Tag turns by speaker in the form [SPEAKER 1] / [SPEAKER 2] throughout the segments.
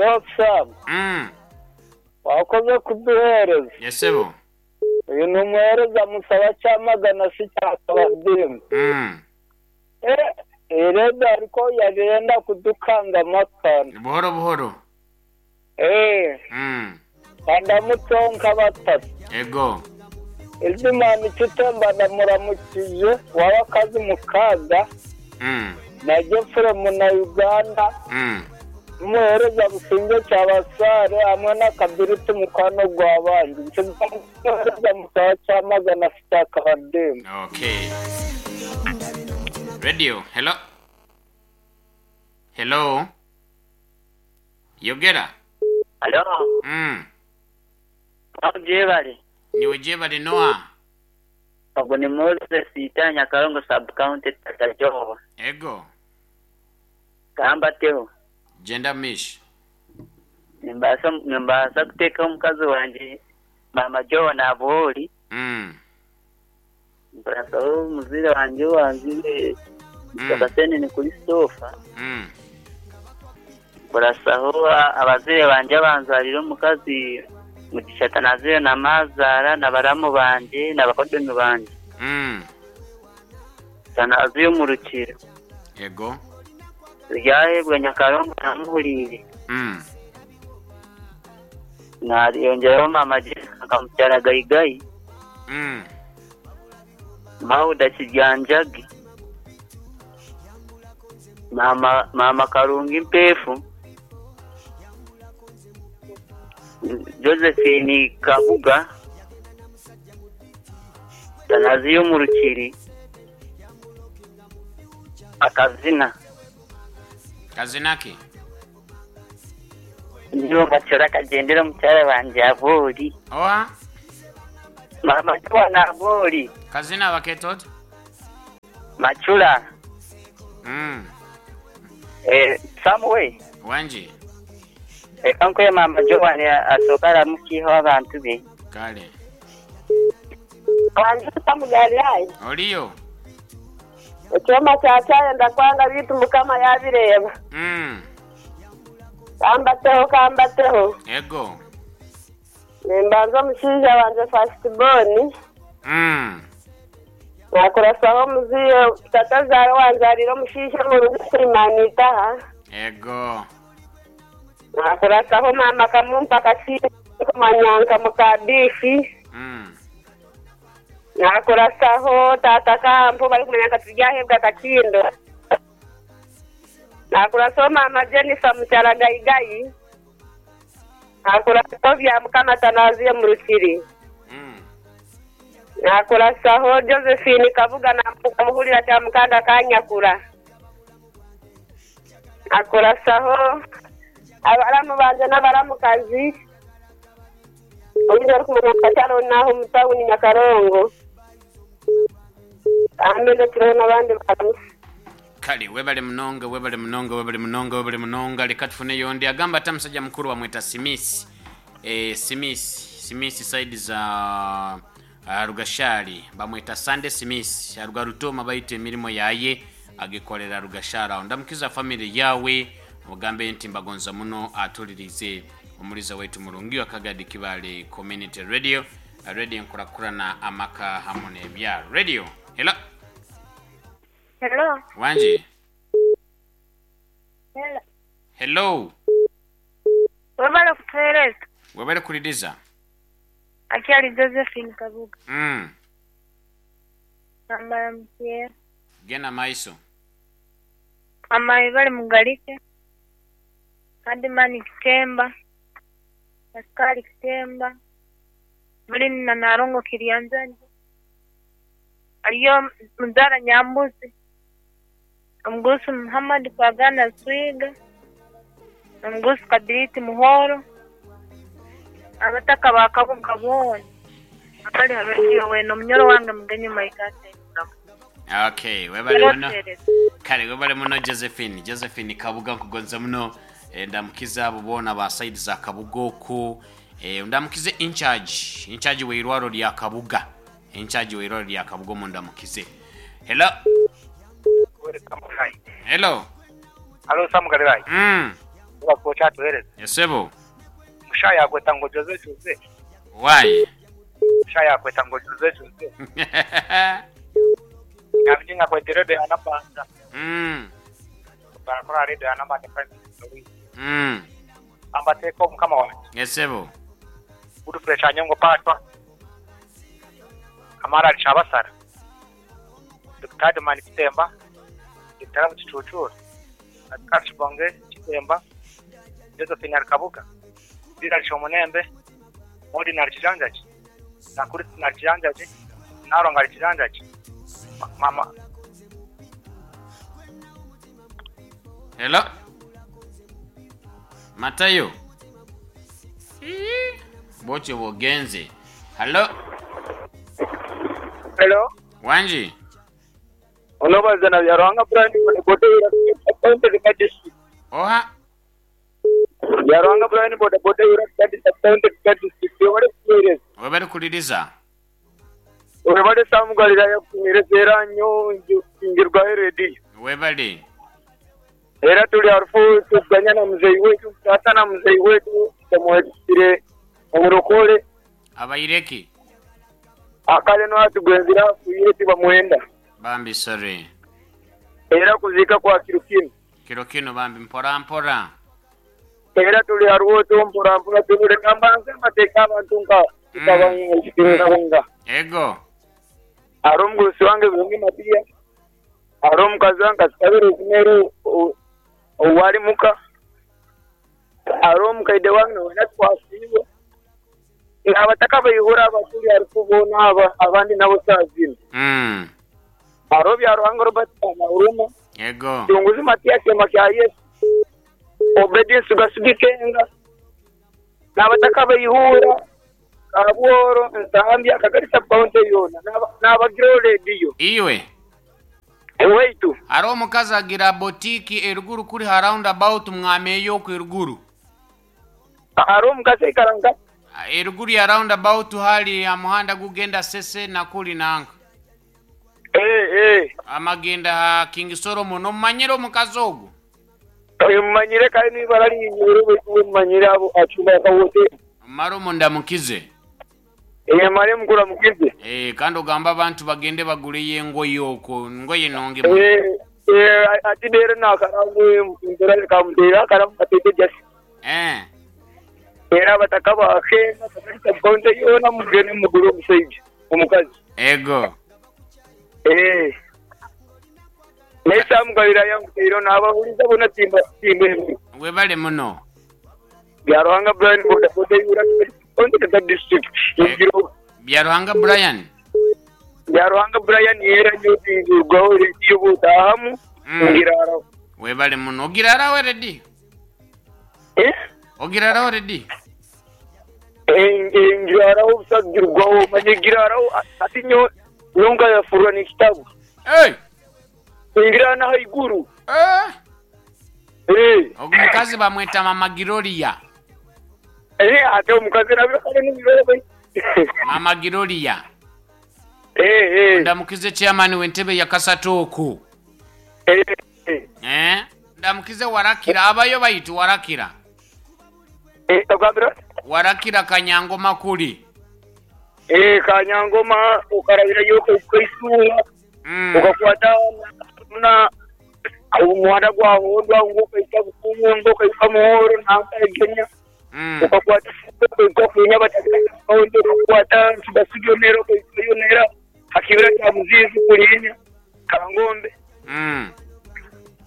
[SPEAKER 1] Hariho Sam.
[SPEAKER 2] Mm.
[SPEAKER 1] Wakoze kuduheereza.
[SPEAKER 2] Yes sebo.
[SPEAKER 1] Uyu ni umuhereza musaba Kyamagana si kya Kabadimba.
[SPEAKER 2] Mm.
[SPEAKER 1] Eh, iyi radio ariko yari yenda kudukangamu akantu.
[SPEAKER 2] Buhoro buhoro.
[SPEAKER 1] Eh,
[SPEAKER 2] Mm.
[SPEAKER 1] kandamutseho nka batatu.
[SPEAKER 2] Ego.
[SPEAKER 1] Izimana Kitemba ndamuramukije waba akazi mu kaga
[SPEAKER 2] Mm.
[SPEAKER 1] na Jefuremu na Uganda
[SPEAKER 2] Mm.
[SPEAKER 1] n'umuhereza Businge Kyabasare hamwe na Kabiriti mukwano gwa bangi. Umuhereza musaba Kyamagana si kya Kabadimba.
[SPEAKER 2] Okay. Radio. Hello. Hello. Yogera.
[SPEAKER 3] Alo,
[SPEAKER 2] Mm.
[SPEAKER 3] gyebale.
[SPEAKER 2] Niwe gyebale Noah.
[SPEAKER 3] Ogwo ni Moses Ita Nyakarongo sub county Tatajoho.
[SPEAKER 2] Ego.
[SPEAKER 3] Kambateho.
[SPEAKER 2] Genda mish.
[SPEAKER 3] Nimbaasa nimbaasa kuteeka omukazi wangye maama Joho Nabuhori.
[SPEAKER 2] Mm.
[SPEAKER 3] Mpurasaho omuzaire wangye owanzaire Mr. Kasenene Christopher.
[SPEAKER 2] Mm.
[SPEAKER 3] Mpurasaho abazaire bangye abanzarire omukazi Mugisha Tanaziyo na maazaara na baramu bangye na bakodomi bangye.
[SPEAKER 2] Mm.
[SPEAKER 3] Tanaziyo omu Rukiri.
[SPEAKER 2] Ego.
[SPEAKER 3] Turyahebwa Nyakarongo namuhuriire.
[SPEAKER 2] Mm.
[SPEAKER 3] Nayongyeraho maama Jessica nkamukyara Gaigai.
[SPEAKER 2] Mm.
[SPEAKER 3] Mauda Kiryanjagi. Maama maama Karungi Mpeefu. Josephine Kabuga. Tanaziyo omu Rukiri. Akazina.
[SPEAKER 2] Kazina ki?
[SPEAKER 3] Nyowe Bacora Kagyendera omukyara wangye Aboori.
[SPEAKER 2] Oha?
[SPEAKER 3] Maama Joan Aboori.
[SPEAKER 2] Kazina bakeeta ota?
[SPEAKER 3] Macura.
[SPEAKER 2] Mm.
[SPEAKER 3] Eh, Sam we.
[SPEAKER 2] Wangi.
[SPEAKER 3] Reka nkuhe maama Joan asooke aramukiiho abantu be.
[SPEAKER 2] Kale.
[SPEAKER 4] Wangi Sam Galilaya.
[SPEAKER 2] Oriyo?
[SPEAKER 4] Ekyoma kya kyayenda kwanga beitu Mukama yabireeba.
[SPEAKER 2] Mm.
[SPEAKER 4] Kambateho kambateho.
[SPEAKER 2] Ego.
[SPEAKER 4] Nimbanza omushaija wangye first born.
[SPEAKER 2] Mm.
[SPEAKER 4] Nakurasaho omuzaire tata zaara owanzariire omushaija omurungi Suleiman Itaha.
[SPEAKER 2] Ego.
[SPEAKER 4] Nakurasaho maama Kamumpa Kasiime orikumanywa nka muka Biifi.
[SPEAKER 2] Mm.
[SPEAKER 4] Nakurasaho taata Kampa ou barikumanya nka Turyahebwa Kakindo. Nakurasaho maama Jennifer mukyara Gaigai. Nakurasaho Byamukama Tanaziyo Murukiri. Nakurasaho Josephine Kabuga namuhurira Kyamukanda Kanyakura. Nakurasaho abaramu bangye n'abaramukazi. Ondiijo orikumanywa nka Sharon n'aha omu tauni Nyakarongo. Kandi ndekireho n'abandi baramutsya.
[SPEAKER 2] Kale webale munonga webale munonga webale munonga webale munonga leka tufuneyo ondi agamba ata musajja mukulu bamweta Simisi eh, Simisi Simisi side za uh, Rugashari bamweta Sunday Simisi aruga Rutoma baitu emirimo yaye agikorera Rugashari aho ndamukiza family yawe mugambe nti mbagonza muno atulirize omuliza waitu murungi wa Kagadi Kibale Community Radio Radio enkurakurana amaka hamu n'ebya Radio Hello
[SPEAKER 5] Hello.
[SPEAKER 2] Wangi.
[SPEAKER 5] Hello.
[SPEAKER 2] Hello.
[SPEAKER 5] Webale kutuhereza.
[SPEAKER 2] Webale kuliriza.
[SPEAKER 5] Akyali Josephine Kabuga.
[SPEAKER 2] Mm.
[SPEAKER 5] Nambara mukyera.
[SPEAKER 2] Genda maiso.
[SPEAKER 5] Mama webale Mugalike. Adimani Kitemba. Pascal Kitemba. Mulini na Narongo Kiryanzani. Ariyo Mudara Nyambuzi. Omugurusi Muhammad Kwagana Zwiga. Omugurusi Kabiriti Muhoro. Abataka ba Kabuga boona abari ha rediyo weena omunyoro wange Mugenyi Mike Asenguramu.
[SPEAKER 2] Okay, webale muno.
[SPEAKER 5] Erotereza.
[SPEAKER 2] Kale webale muno Josephine. Josephine Kabuga nkugonza muno. Eh, ndamukize abo boona ba side za Kabuga okwo. Eh, ndamukize incharge, incharge w'eirwaro rya Kabuga. Incharge w'eirwaro rya Kabuga omundamukize. Hello. Hello.
[SPEAKER 6] Halo Sam Galilayi.
[SPEAKER 2] Mm.
[SPEAKER 1] Webale kuba okyatuhereza.
[SPEAKER 2] Esebo.
[SPEAKER 1] Mushaho yakweta ngu Jose Jose.
[SPEAKER 2] Why?
[SPEAKER 1] Mushaho yakweta ngu Jose Jose. Nabingi ngakweta Radio ya Nabanja. Barakora Radio ya Nabanja Prime Minister waitu. Ambateeka omukama wangye.
[SPEAKER 2] Esebo.
[SPEAKER 1] Godfrey Kyanyongo Paatwa. Kamara ari Kyabasara. Dokita Adman Kitemba. Dokita Rabu Kicucuura. Pascal Kibonge Kitemba. Josephine ari Kabuga. Bill ari Kyomunembe. Maudine ari Kijanjagi. Nakuristina ari Kijanjagi. Nalongo ari Kijanjagi. Mama.
[SPEAKER 2] Hello? Matayo? Ii, Bwotyo bw'ogenze. Hallo?
[SPEAKER 1] Hello.
[SPEAKER 2] Wangi?
[SPEAKER 1] Onobaza na Byaruhanga Brian bodaboda Ira district.
[SPEAKER 2] Oha?
[SPEAKER 1] Byaruhanga Brian bodaboda Ira district. Webale kutuhereza.
[SPEAKER 2] Webale kuliriza.
[SPEAKER 1] Webale Sam Galilaya kutuhereza era nyo ngirwaho rediyo.
[SPEAKER 2] Webale.
[SPEAKER 1] Era turi harufu tuganya na muzeyi wetu tata na muzeyi wetu tumuhekire omurokore.
[SPEAKER 2] Abaireki?
[SPEAKER 1] Akale no atugwenzire afiire tibamwenda.
[SPEAKER 2] Bambi sorry.
[SPEAKER 1] Era kuziika kwa kiro kinu.
[SPEAKER 2] Kiro kinu bambi mpora mpora.
[SPEAKER 1] Era turi haruho tu mpora mpora tubure mbanze mbateeke abantu nka nkabunga.
[SPEAKER 2] Ego.
[SPEAKER 1] Hariho omugurusi wange Birungi Matiya, hariho omukazi wange Kasikabire Rosemary ou ari muka, hariho omukaide wange nawe twasiibwe, n'abatakabaihura abaturi hariho boona aba abandi nabo shaaha zinu. Hariho Byaruhanga Robert Kanahuruma,
[SPEAKER 2] Ego.
[SPEAKER 1] Kirunguzi Matiya Kyema kya Yesu, Obedi Nsuga Ikenga, n'abatakabaihura Kabworo, Nsambya, Kagari sub-county yoona n'abagireho rediyo.
[SPEAKER 2] Iwe.
[SPEAKER 1] Owaitu.
[SPEAKER 2] Hariho omukazi agira botiki eruguru kuri ha round about mwameyo okwo eruguru.
[SPEAKER 1] Hariho omukazi aikara nka?
[SPEAKER 2] Eruguru ya round about hari ha muhanda gugenda Sese na kuri nanka.
[SPEAKER 1] Eh, eh.
[SPEAKER 2] Amagenda ha King Solomon omumanyire omukazi ogwo?
[SPEAKER 1] Mumanyire kare n'eibara riinyweire baitu mumanyire abo acumba aka hoteri.
[SPEAKER 2] Mare omundamukize.
[SPEAKER 1] Eeh mare mukuramukize.
[SPEAKER 2] Eeh kandi ogambe abantu bagende bagureyo engoye okwo, engoye nungi muno.
[SPEAKER 1] Eeh eeh ati reero naakaramu mpora nkamuteera akaramu kateete just.
[SPEAKER 2] Eeh.
[SPEAKER 1] Reero abataka ba Kenya Kagari sub-county yoona mugende mugure omushaija, omukazi.
[SPEAKER 2] Ego.
[SPEAKER 1] Eeh. Naye Sam Galilaya nkuteireho naabahuriza boona timba timba.
[SPEAKER 2] Webale muno.
[SPEAKER 1] Byaruhanga Brian bodaboda eihura Kagari district Igiro.
[SPEAKER 2] Byaruhanga Brian.
[SPEAKER 1] Byaruhanga Brian era nyowe tingirwaho rediyo bwotaahamu ngiraaraho.
[SPEAKER 2] Webale muno. Ogiraaraho erediyo?
[SPEAKER 1] Eh?
[SPEAKER 2] Ogiraaraho rediyo?
[SPEAKER 1] Ngiraaraho busa girwaho manya egiraaraho hati nyowe nkayafurura n'ekitabu.
[SPEAKER 2] Hey!
[SPEAKER 1] Ingiraara n'ahaiguru.
[SPEAKER 2] Eh!
[SPEAKER 1] Eh.
[SPEAKER 2] Ogu mukazi bamweta Mama Giroria.
[SPEAKER 1] Eh, ate omukazi nabyo kale nibirobe.
[SPEAKER 2] Mama Giroria.
[SPEAKER 1] Eh, eh.
[SPEAKER 2] Ndamukize chairman w'entebe ya Kasatu oku.
[SPEAKER 1] Eh, eh.
[SPEAKER 2] Eh? Ndamukize Warakira abayo baitu Warakira.
[SPEAKER 1] Eh, ogambira?
[SPEAKER 2] Warakira Kanyangoma kuri.
[SPEAKER 1] Eh, Kanyangoma okarabirayo okaisuuha okakwata na omuhanda gwa Hondwa ngu okahika Bukungu okahika Muhoro nanka Egenya okakwata okahika Funya Batakaundi okakwata Nsugasugyo nera okahikayo nera ha kibira kya Muziizi kuriinya Kangombe.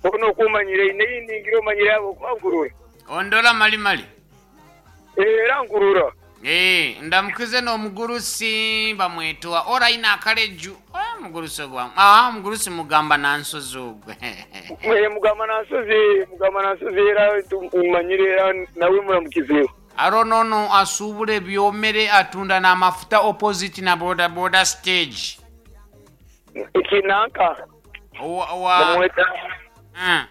[SPEAKER 1] Hoona oku omanyire eine ei ningira omanyire ahabw'okuba nkurura.
[SPEAKER 2] Ondora mali mali.
[SPEAKER 1] Era nkurura.
[SPEAKER 2] Eeh ndamukize n'omugurusi bamweta owa Oraine Akareju eeh omugurusi ogwo aah omugurusi mugamba nansozi ogwo.
[SPEAKER 1] Eeh mugamba nansozi mugamba nansozi era tumumanyire era nawe muramukizeho.
[SPEAKER 2] Haroho n'ono asuubura ebyomere atunda n'amafuta opposite na boda boda stage.
[SPEAKER 1] Eki nanka?
[SPEAKER 2] Owa owa
[SPEAKER 1] Bamweta
[SPEAKER 2] Eh.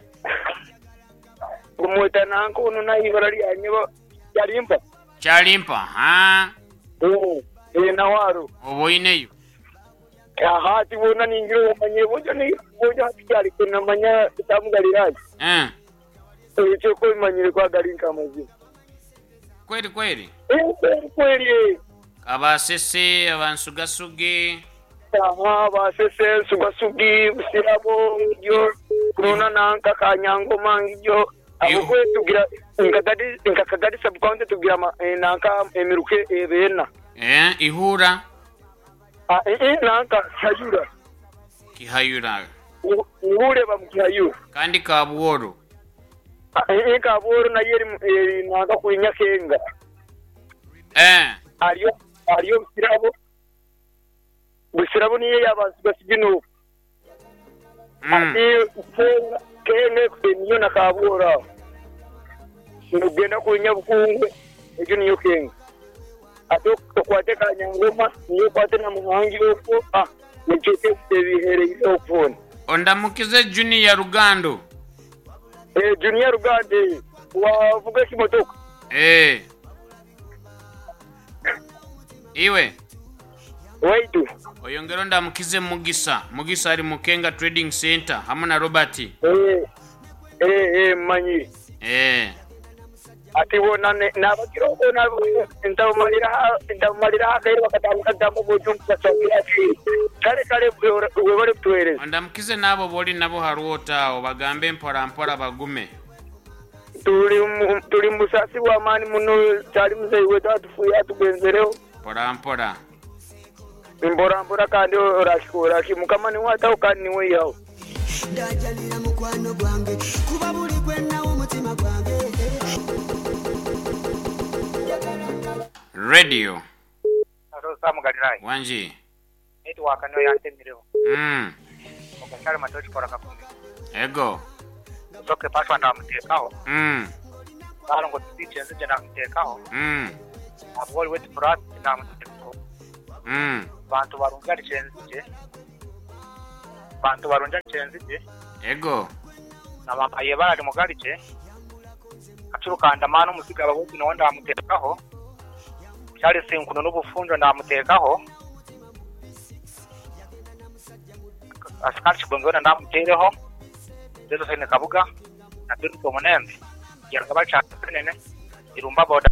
[SPEAKER 1] Bamweta nanka onu n'eibara ryanye Kyalimpa.
[SPEAKER 2] Kyalimpa haa.
[SPEAKER 1] Eeh eeh nawe aro.
[SPEAKER 2] Oba oineyo.
[SPEAKER 1] Aha hati boona ningira omanyire bojo ni bojo hati kyarikwe namanya Sam Galilaya.
[SPEAKER 2] Eh.
[SPEAKER 1] Ekyo ku obimanyire ku agali nk'amazima.
[SPEAKER 2] Kweri kweri?
[SPEAKER 1] Ee, kweri kweri ee.
[SPEAKER 2] Abasese, abansugasugi.
[SPEAKER 1] Aha, Basese, Nsugasugi, Busirabo, ngigyo, Kunona nanka Kanyangoma ngigyo. Ahabw'okuba tugira nka nka Kagadi sub county tugira nanka emiruka eba ena.
[SPEAKER 2] Ee, Ihura.
[SPEAKER 1] Ah, ii nanka Kihayura.
[SPEAKER 2] Kihayura.
[SPEAKER 1] Ihura eba mu Kihayura.
[SPEAKER 2] Kandi Kabworo.
[SPEAKER 1] Ah, ii Kabworo nayo eri eri nanka kuri Nyakenga.
[SPEAKER 2] Ee.
[SPEAKER 1] Hariyo hariyo Busirabo. Busirabo niyo eya Bansigasiga n'oku. Ati Kenga, Kenga niyo na Kabworo aho. Nogenda kuri Nyabukungwe, egyo niyo Kenga. Ati okwate Kanyangoma, niyo okwate na Muhangi okwo, ah, nikyo ebihereire okwo hoona.
[SPEAKER 2] Ondamukize Junior Rugando.
[SPEAKER 1] Eh, Junior Rugando, eh, wavuga ekimotoka?
[SPEAKER 2] Eh. Iwe.
[SPEAKER 1] Waitu.
[SPEAKER 2] Oyongere ondamukize Mugisa. Mugisa ari mu Kenga Trading Centre hamwe na Robert.
[SPEAKER 1] Eh, eh, eh, mmanyire.
[SPEAKER 2] Eh.
[SPEAKER 1] Ati bona nabakira okwo ntabumaliraho akaire bakatandika kugamba obujungu basabire ati kale kale webale kutuhereza.
[SPEAKER 2] Ondamukize n'abo b'ori nabo ha rwota aho obagambe mpora mpora bagume.
[SPEAKER 1] Turi mu busaasi bwa maani muno kyari muzeeyi waitu atufiire atugyenzireho.
[SPEAKER 2] Mpora mpora.
[SPEAKER 1] Mpora mpora kandi orakikora ki? Mukama niwe ataho kandi niwe aihaho.
[SPEAKER 6] Ndajalira mukwano gwange kuba buli gwe nawa omutima gwange.
[SPEAKER 2] Radio.
[SPEAKER 7] Haro Sam Galilaaya.
[SPEAKER 2] Wangi.
[SPEAKER 7] Network niyo yantemireho. Ogashare matoki kora kakumbi.
[SPEAKER 2] Ego.
[SPEAKER 7] Soke Pashwa ndamutekaho. Barongo Tubiche nzije ndamutekaho. Abwoli wetu Furati ndamutekaho. Bantu barungi ari kyenzije. Bantu barungi ari kyenzije.
[SPEAKER 2] Ego.
[SPEAKER 7] Na mama yebara ari mugarije. Kacurukanda mani omuziga abahugi nawe ndamutekaho. Charles Nkuno n'obufunjo ndamutekaho. Asikari Kibonge wena ndamutereho. Josephine Kabuga na Biruka Omunembe. Yanga bacha Senene. Irumba boda.